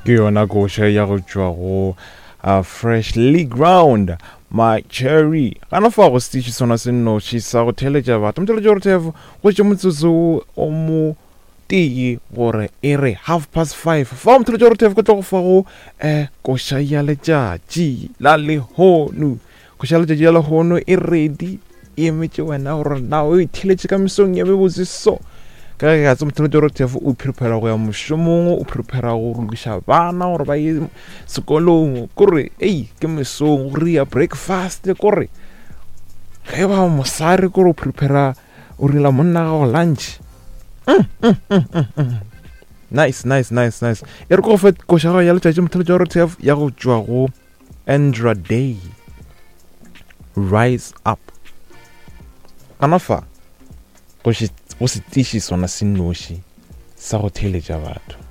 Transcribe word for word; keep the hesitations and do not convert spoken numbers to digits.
Ke yona koša ya go tšwa go uh, Freshly Ground, My Cherry. Gana fa go setiši sona se nnoši sa go theeletša batho. Motheeletši wa R T F, go tše motsotso o mo tee gore e re half past five. Fa motheeletši wa R T F, ke tlo go fa go um koša ya letšatši la lehono. Koša ya letšatši la lehono e ready, e emetše wena gore na o e theeletše ka mesong ya mebotse. So ka ge ka tse, motheeletši wa R T F, o prepara go ya mošomong, o prepara go lokiša bana gore ba ye sekolong, kore ei, ke mesong go ria breakfast, kore ge ba mosare, kore o prepara o rela monna gago lunch. mm, mm, mm, mm, mm. nice nice nice nice. E re ko go fe koša gago ya letšatši, motheeletši wa R T F, ya go tšwa go Andra Day, Rise Up. Gana fa go setiši sona se nnoši sa go theeletša batho.